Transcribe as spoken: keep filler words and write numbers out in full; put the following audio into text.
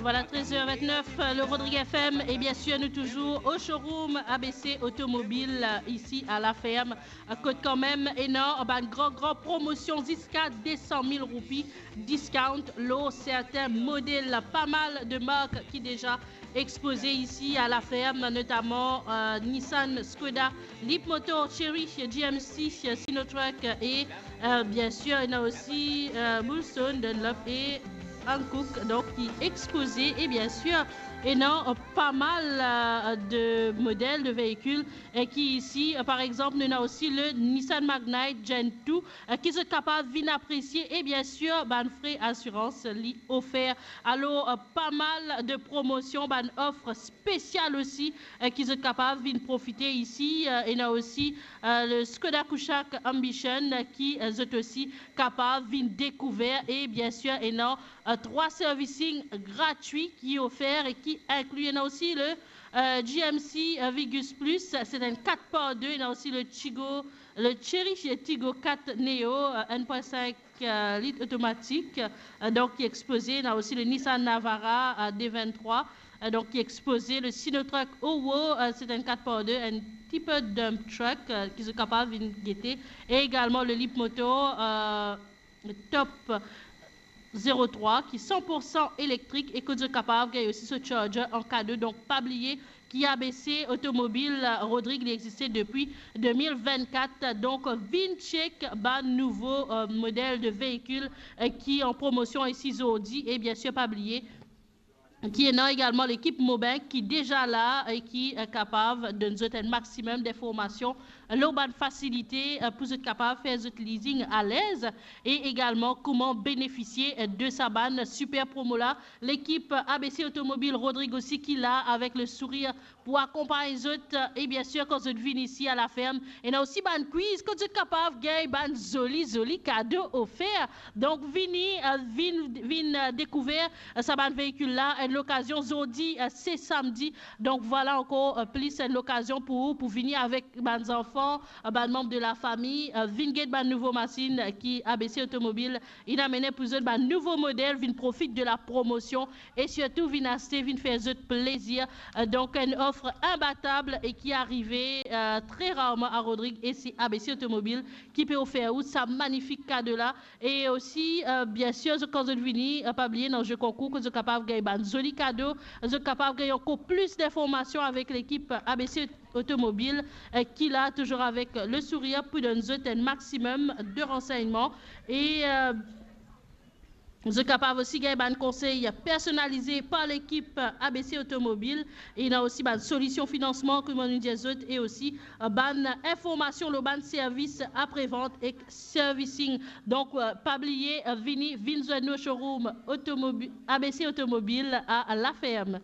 Voilà, treize heures vingt-neuf, euh, le Rodrigue F M, et bien sûr, nous toujours au showroom A B C Automobile, euh, ici à La Ferme. Euh, kot kanmem, ena bann gran, gran promosion ziska de san mil roupi discount lor sertin model. Pas mal de marques qui déjà exposées ici à La Ferme, notamment, euh, Nissan, Skoda, Leapmotor, Chery, G M C, Sinotruk et, euh, bien sûr, ena aussi, euh, Bulstone, Dunlop et Hankook, donc, ki expoze. Et bien sûr, ena, euh, pas mal, euh, de modèles de véhicules, euh, ki isi, euh, par exemple, nou ena aussi le Nissan Magnite Gen deux, euh, ki zot kapav vinn apresie, et bien sûr, bann frais assurance li ofer. Alors, euh, pas mal de promotions, bann ofre spesial osi, euh, ki zot kapav vinn profite isi. Euh, ena aussi, euh, le Skoda Kushaq Ambition, euh, ki, euh, zot osi kapav vinn dekouver. Et bien sûr, ena, euh, trois servicing gratuits ki ofer et ki inclut, ena aussi le, euh, G M C, euh, Vigus Plus, c'est un quatre par deux, ena aussi le Tigo, le Chery Tiggo quatre Neo, euh, un point cinq, euh, litres automatique, euh, donc, ki expoze. Ena aussi le Nissan Navara, euh, deux vingt-trois, euh, donc, ki expoze, le Sinotruk Owo, euh, c'est un quatre par deux, un type dump truck, euh, ki zot kapav vinn gete, et également le Leapmotor, euh, Top zéro trois, ki san pour san électrique et ki zot kapav gagn aussi so charger en cadeau. Donc, pa bliye ki A B C Automobile, euh, Rodrigue, li existe depuis deux mille vingt-quatre. Donc, vinn check bann nouvo, euh, modèle de véhicule, euh, ki en promotion isi zordi. Et bien sûr, pa bliye ki ena également l'équipe Mobank ki déjà la et ki, euh, kapav donn zot un maximum d'informations lor bann fasilite, euh, pou zot kapav fer zot leasing alez, et également comment bénéficier, euh, de sa bann super promo la. L'équipe A B C Automobile Rodrigue aussi ki la avec le sourire pou akonpagn zot, euh, et bien sûr, kan zot vinn isi à La Ferme, ena aussi bann quiz kot zot kapav gagn bann zoli, zoli kado ofer. Donc, vini, euh, vinn, vinn, euh, dekouver, euh, sa bann véhicule la, euh, lokazion zordi, euh, c'est samedi. Donc, voilà encore, euh, plis, euh, lokazion pou ou pou vini avek bann zanfan, euh, bann manb de la fami, euh, vinn get bann nouvo masinn, euh, ki A B C Automobile inn amene pou zot, bann nouvo modèl, vinn profit de la promotion et surtout vinn aste, vinn fer zot plezir. Euh, donc, une offre imbattable et qui arrive, euh, très rarement à Rodrigue, et c'est A B C Automobile ki pe ofer ou sa magnifique cadeau la. Et aussi, euh, bien sûr, zot, kan zot vini, euh, pa bliye, ena zwe konkour, kot zot kapav gagn bann zoli kado, zot kapav gagn ankor plis d'informations avec l'équipe A B C Automobile, euh, ki la toujours avec le sourire pou donn zot un maximum de renseignements. Et, euh, zot kapav aussi gagn bann konsey personalize par l'équipe A B C Automobile. Ena aussi bann solision finansman, kouma nou dir zot, et aussi, euh, bann informasion lor bann servis après-vente ek servicing. Donc, euh, pa bliye, euh, vini, vinn zwenn nou showroom automobi-, A B C Automobile à La Ferme.